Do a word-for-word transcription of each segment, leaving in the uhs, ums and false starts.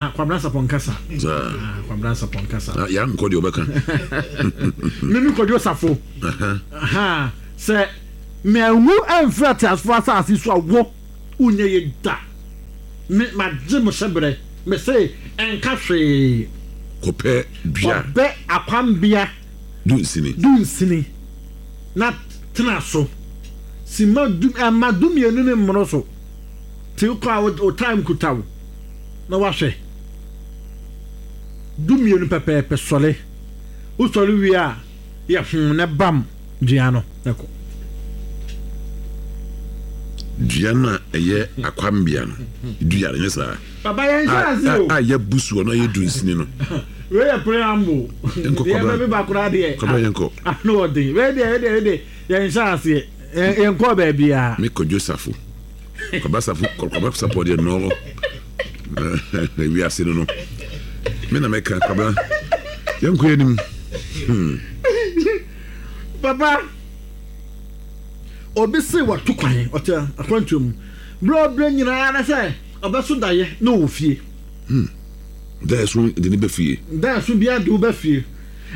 Na Kwabena Sapɔ nkasa. Saa. Ah, Kwabena Sapɔ nkasa. Na yɛankɔ deɛ ɔbɛka. Mimi Kwadwo Safo. Ha, sɛ mɛnwu ɛmfiri ateasefoɔ asase so a, wo wonyɛ yɛ da. Me magye mo hyɛberɛ. Me se ɛnka hwee. Kɔpɛ dua. Kɔbɛ akwambea. Dunsini. Dunsini. Na tena so. Sima du ɛma du mmienu ne mmoro so. Ti kɔ a wo time kuta wo. Na wahwɛ. Du mmienu pɛpɛɛpɛ sɔre. Wosɔre wie a, yɛ ho ne bam dua no na kɔ. Dua no a ɛyɛ akwambea no, dua no nyɛ saa. Papa, yɛn hyɛ ase o. A yɛbu soɔ no, ɛyɛ dunsini no. Wei yɛ preamble. Nkɔ. Deɛ Kwabena. bɛbi baako na deɛ. Kwabena, yɛnkɔ. Ano ɔden. Wei deɛ, wei deɛ, wei deɛ, yɛn hyɛ aseɛ. Yɛn kɔ baabiara. Me Kwadwo Safo, Kwabena Safo, Kwabena Sapɔ deɛ nɔɔ wiase no no me na mɛka. Kwabena, yɛnkɔ yɛnim hmm. Papa, obi se watu kwan, ɔte akwantuo mu berɛ ɔberɛ nyinaa na sɛ ɔbɛso daeɛ na ɔwɔ fie. Da ɛso de ne bɛ fie. Da ɛso biara de wo bɛ fie,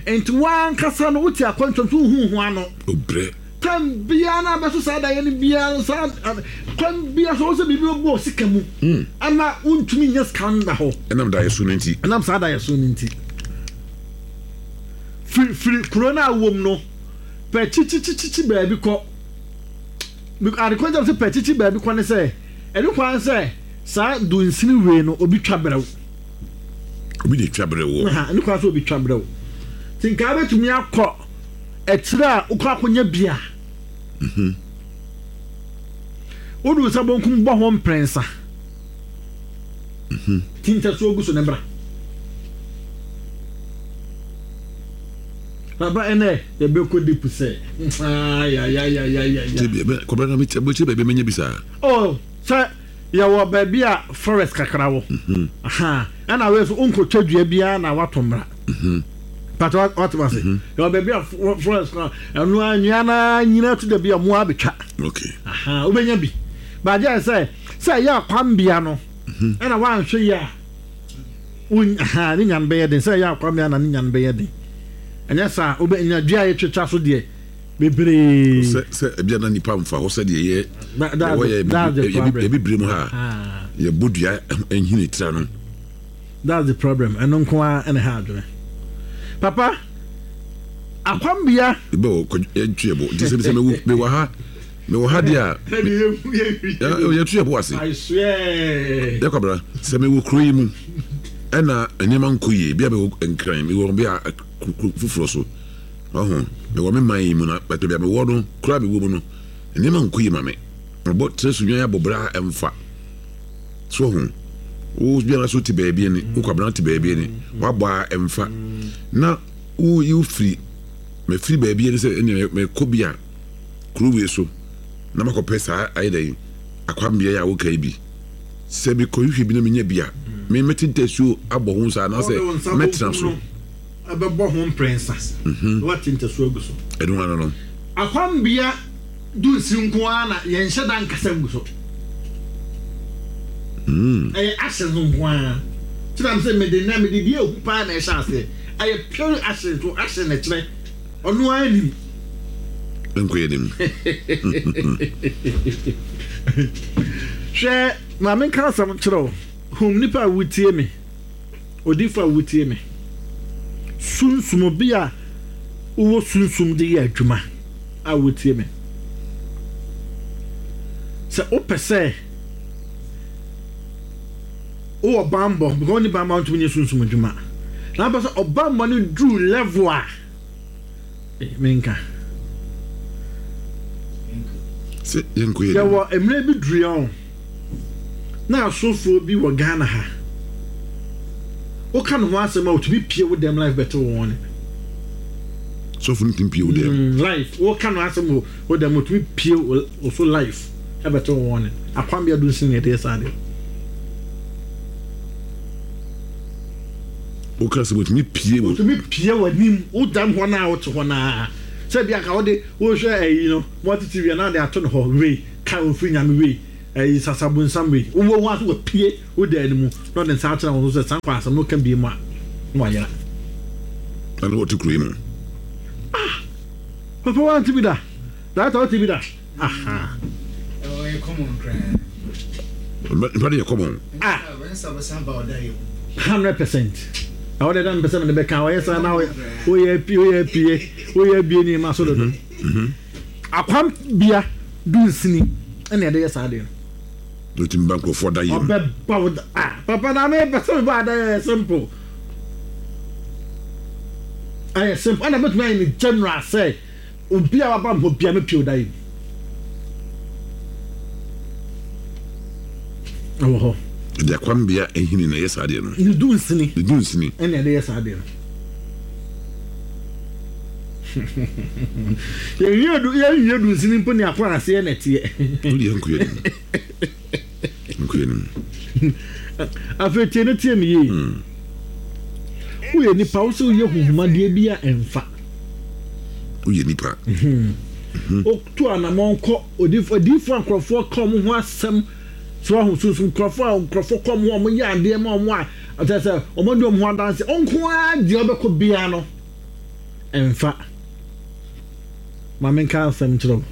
nti wankasa no wote akwantuo mu so wohu ho ano. Obrɛ. Tam biara na abɛso saa daeɛ no biara no, saa kwan biara so wo sɛ biribi bɛbɔ sika mu ama wontumi nyɛ sika nda hɔ. Ɛnam da ɛso no nti. Ɛnam saa daeɛ so no nti, firi firi kuro no a wowɔ mu no, pɛ kyikyikyikyi baabi kɔ. Ade kwan sɛ pɛ kyikyi baabi kɔ ne sɛ ɛne kwan sɛ saa dunsini wei no obi twa brɛw. Obi de twa brɛ wɔ. Ɛne kwan sɛ obi twa brɛw, nti nkaa bɛtumi akɔ akyire a wokɔ akɔnya bia wode wo nsa bonkum bɔ ho mprɛnsa, ti ntasuo gu so ne bra. Papa, ɛnɛ yɛbɛkɔ deep sɛ ayayayayaya. Kwabena, bɛkyerɛ baabi mɛnya bi saa. Oh, sɛ yɛwɔ baabi a forest kakra wɔ. Aha, ɛna wei so wonkɔtwa dua biara na wato mmara pata, wate ma se yɛwɔ baabi a forest no ɛno a nnua no nyina to da bi a mmoa abɛtwa. Okay aha, wobɛnya bi baagye sɛ sɛ ɛyɛ akwambea no ɛna woanhwɛ yi a won aha ne nya no bɛyɛ den, sɛ ɛyɛ akwambea na ne nya no bɛyɛ den. Ɛnyɛ saa, wobɛnya dua a yɛtwitwa so deɛ bebree. Sɛ sɛ ebi ana nipa nfa hɔ sɛdeɛ yɛ That- that's yɛwɔ the- yɛ that's the problem. yɛbibire mu ha Ah. yɛbɔ dua nhini tira no. That's the problem. Ɛno nko ara ɛna ha adwene. Papa, akwambea. Ebɛ wɔ kɔ yɛntu yɛ bo nti sɛ sɛ mewɔ mewɔ ha mewɔ ha deɛ a yɛtu yɛ bo ase. I swear. Yɛ Kwabena, sɛ mewɔ kuro yi mu ɛna nneɛma nkɔ yie bi a, mewɔ Nkran, mewɔ bi a kuro foforɔ so ɔho, mewɔ me man yi mu na bɛtɛ bi a mewɔ no kuro a mewɔ mu no nneɛma nkɔ yie ma me, mabɔ tena so nwan abɔ bra ɛmfa so ho, wo biara so te baabi ani, wo Kwabena te baabi ani, wabɔ a ɛmfa na wo yi firi mafiri baabi ani sɛ ɛnna mekɔ bi a kuro wei so na makɔpɛ saa ayɛ dɛn akwambea yi a woka yi bi sɛ mekɔhwehwɛ bi na menya bi a, me mɛte ntasuo abɔ ho saa anaasɛ mɛtena so. Ɛbɛbɔ ho mprɛnsa na wate ntasuo agu so. Ɛno ano no. Akwambea dunsi nko ara na yɛnhyɛ da nkasa ngu so. Ɛyɛ ashes nko ara kyerɛ m sɛ mede nɛ mede deɛ ehu paa na ɛhyɛ aseɛ. Ɛyɛ pure ashes so, ashes na ɛkyerɛ ɔno ara nim. Nkɔ yɛ nim. Hwɛ, maame, nka asɛm kyerɛ wo. Hum, nipa a wotie me, odifo a wotie me, sunsum bi a wowɔ sunsum de yɛ adwuma a wotie me, sɛ wopɛ sɛ wowɔ bambɔ, because wonni bambɔ a wontumi nyɛ sunsum adwuma, na wopɛ sɛ ɔbambɔ no duru level a eh, menka. Sɛ yɛnkɔ yɛ nim. Yɛwɔ mmerɛ bi duru yɛn na asɔfoɔ bi wɔ Ghana ha, woka ne ho asɛm a, otumi pie wo dɛm live bɛte wo wɔn ne. Sɔfo no tumi pie wo dɛm? Mm, live, woka no asɛm wɔ wo dɛm, otumi pie wo wo so live ɛbɛte wo wɔn ne. Akwambea du nsin na yɛde yɛ saa deɛ. Woka sɛ wɔtumi pie wo? Otumi pie w'anim, wo dɛm hɔ naa, wote hɔ naa, sɛ bi anka wode wohwɛ ayi no multi T V na de ato no hɔ, wei ka ofiri Nyame wei. Ɛyi sasabonsam wei wowɔ ho aso wapue wo dan no mu na ɔde nsa akyerɛ wo so sɛ saa nkɔ asɛm no ka bie mu a na wayera. Ɛna wɔte kuro yi mu. Ah, papa wante bi da. Director wote bi da. Aha. Ɔyɛ common koraa. Nipa de yɛ common. Ah. Hundred percent. Ɛwɔ de da mpɛ sɛ mede bɛka ɔyɛ saa na woyɛ pie woyɛ pie woyɛ bie ne ma so dodo. Akwam bia dunsini ɛna ɛde yɛ saa deɛ no. N'otumi ba nkurɔfoɔ da yam. Ɔbɛba wo da ah papa na me pɛ sɛ meba ada yɛ simple. Ɛyɛ simple ɛna bɛtumi ayɛ ne general sɛ obi a waba mpo bia mepie wo da yam. Ɛwɔ hɔ. Ɛde akwambea ehini na ɛyɛ saa deɛ no. Ne dunsini. Ne dunsini. Ɛna ɛde yɛ saa deɛ no. Yɛnwie du yɛnwie dunsini mpo ne akɔ aseɛ na ɛteɛ. Wode yɛ nkoyɛ nim. Nkoyɛ nim. Afei tie ne tie me yie. Woyɛ nipa wo sɛ woyɛ huhumadeɛ bi a ɛmfa. Woyɛ nipa. Wotu anammɔn kɔ odiifo adiifo a nkurɔfoɔ ka wɔn ho asɛm so ahu sunsun nkurɔfoɔ a nkurɔfoɔ kɔ wɔn ho a wɔyɛ adeɛ ma wɔn a ɔkyerɛ sɛ wɔn de wɔn ho adanse nko ara deɛ ɔbɛkɔ biara no ɛmfa. Ma menka asɛm nkyerɛ wo.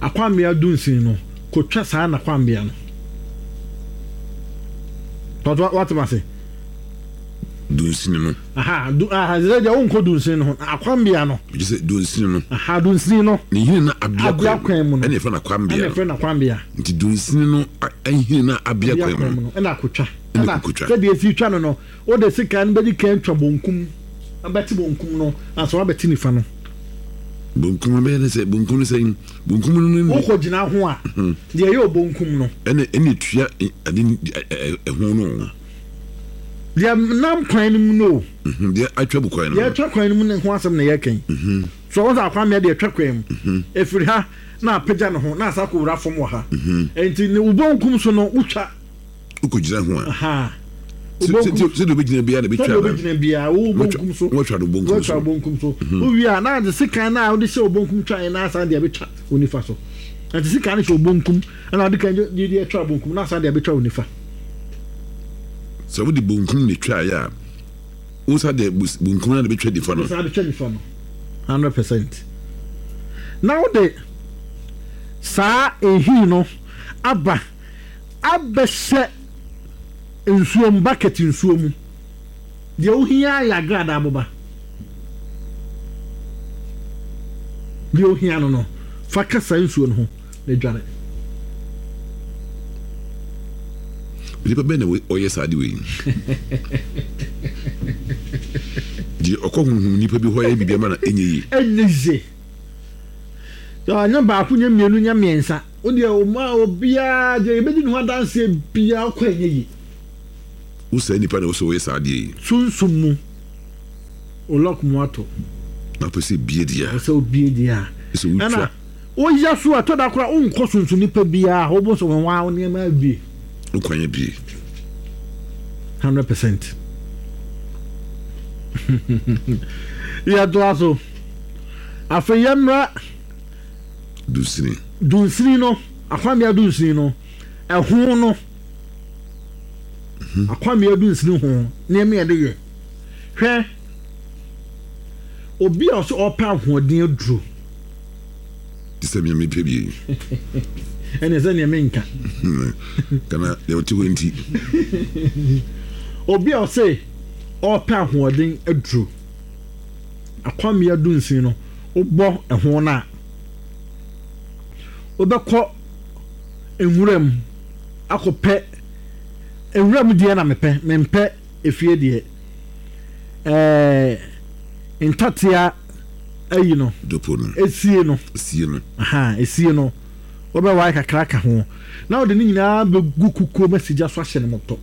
Akwambea dunsin no kotwa saa na kwambea no. Tɔtɔ wate ma se. Dunsini no. Aha, du aha, sɛ deɛ wonkɔ dunsini no ho. Akwambea no. Gye sɛ dunsini no. Aha, dunsini no. Ne nhini na abea Abea kwan mu no. Ɛna yɛfrɛ no akwambea. Ɛna yɛfrɛ no akwambea. Nti dunsini no nhini na abea kwan mu no. Ɛna akotwa. Ɛna akotwa. Sɛdeɛ esi twa no no, wode sekan no bɛdi kan twa bonkum, bɛte bonkum no, ansa wabɛte nifa no. Bonkum no bɛyɛ ne sɛ bonkum no sɛ bonkum no ne. Wokɔ gyina ho a, deɛ ɛyɛ obonkum no. Ɛna ɛna etua ade ɛho no. Deɛ nam kwan no mu no. Deɛ atwa bu kwan no. Deɛ atwa kwan no mu ne ho asɛm na yɛka yi. So wɔn sɛ akwamea deɛ atwa kwan mu. Efiri ha na apagya ne ho na asa akɔwura fam wɔ ha. Nti ne bonkum so no wotwa. Wokɔ gyina ho a. Sɛdeɛ wobɛgyina biara na bɛtwa. Sɛdeɛ wobɛgyina biara wo bonkum so. Wɔatwa no bonkum so. Wɔatwa bonkum so. Wowie a na ade sekan na wode hyɛ bonkum twa yɛ na asan de abɛtwa wo nifa so. Nti sekan no hyɛ bonkum ɛna ade kan de de atwa bonkum na asan de abɛtwa wo nifa. Sɛ wode bonkum na twa yɛ a wo sa de bonkum na de bɛtwa nifa no. Wo sa de twa nifa no. hundred percent. Na wode saa ehi no aba abɛhyɛ nsuo mu, bucket nsuo mu. Deɛ wohia yɛ agradaa aboba. Deɛ wohia no no, fa ka saa nsuo no ho na dware. Nipa bɛn na ɔyɛ saa de wei? Deɛ ɔkɔ honhom nipa bi hɔ yɛ biribi ama na ɛnyɛ yie. Ɛnyɛ yie. Nyɛ baako, nyɛ mmienu, nyɛ mmiɛnsa. Wo deɛ ɔma obiara deɛ yɛbɛdi ne ho adanseɛ biara ɔkɔ ɛnyɛ yie. Wo saa nipa na wosɛ wɔyɛ saa adeɛ yi. Sunsum mu olɔk mu ato. Na pɛ sɛ bie deɛ a. Sɛ obie deɛ a. Sɛ wotwa. Ɛna woyɛ so a tɔda koraa wonkɔ sunsun nipa biara wobɔ sɛ wɔn wa nneɛma abie. Wo kwan abie. Hundred percent. Yɛtoa so. Afei yɛmmra. Dunsini. Dunsini no, akwambea dunsini no, ɛho no. Akwambea dunsini ho nneɛma yɛde yɛ. Hwɛ, obi a ɔsɛ ɔpɛ ahoɔden aduro. Te sɛ nea mepɛ bi. Ɛne sɛ nea menka. Kana deɛ ɔte hɔ nti. Obi a ɔsɛ ɔpɛ ahoɔden aduro. Akwambea dunsini no, wobɔ ɛho no a, wobɛkɔ nwura mu akɔpɛ nwura mu deɛ na mepɛ, mempɛ efie deɛ. Ɛɛ ntatea ayi no. Dopo no. Esie no. Esie no. Aha, esie no. Wobɛwae kakra ka ho. Na wode ne nyinaa bɛgu kukuo ma sigya so ahyɛ no mɔtɔ.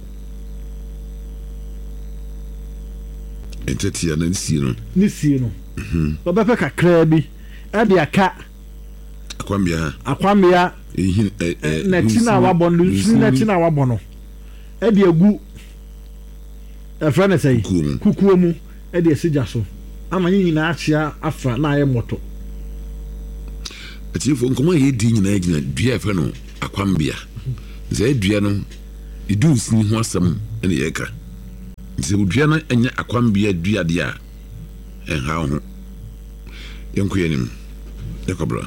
Ntatea no ne sie no. Ne sie no. Wobɛpɛ kakra bi ɛde aka. Akwambea. Akwambea. N'akyi na wabɔ no, nsini n'akyi na wabɔ no. Ɛde agu ɛfrɛ ne sɛ kukuo mu ɛde asi gya so ama ne nyinaa akyea afra na ayɛ mmɔtɔ. Atiefo nkɔmɔ a yɛdi nyinaa gyina dua a yɛfrɛ no akwambea. Sɛ dua no edu nsini ho asɛm ɛna yɛka. Nti sɛ dua no ɛnyɛ akwambea dua deɛ a, ɛnha wo ho. Yɛnkɔ yɛn anim, yɛkɔ bra.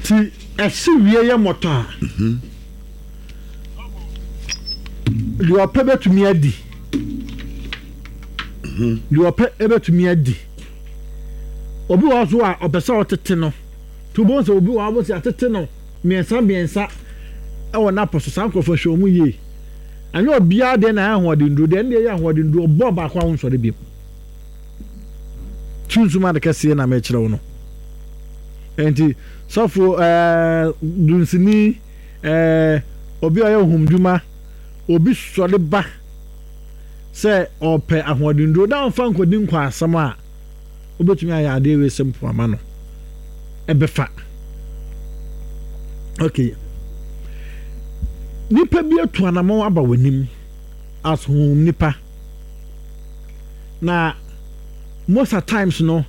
Nti ɛhye wie yɛ mmɔtɔ a, deɛ ɔpɛ bɛtumi adi, deɛ ɔpɛ bɛtumi adi. Obi wɔ hɔ so a ɔpɛ sɛ ɔtete no, nti wobɛhu sɛ obi wɔ hɔ a wobɛhu sɛ atete no mmiɛnsa mmiɛnsa ɛwɔ n'apɔ so. Saa nkurɔfoɔ, hwɛ wɔn yie. Ɛnyɛ obiara deɛ na ɛyɛ ahoɔdennuro deɛ, ɛno deɛ ɛyɛ ahoɔdennuro, ɔbɔ baako a wonsɔre bio. Sunsum ade kɛseɛ na mekyerɛ wo no. Nti sɔfo, ɛɛ dunsini, ɛɛ obi a ɔyɛ ohumdwuma, obi sɔre ba sɛ ɔpɛ ahoɔdennuro na ɔmfa nkɔdi nkɔ asɛm a, wobɛtumi ayɛ adeɛ wei sɛ mpoama no ɛbɛfa. Okay, nipa bi atu anammɔn aba w'anim as honhom nipa, na most at times no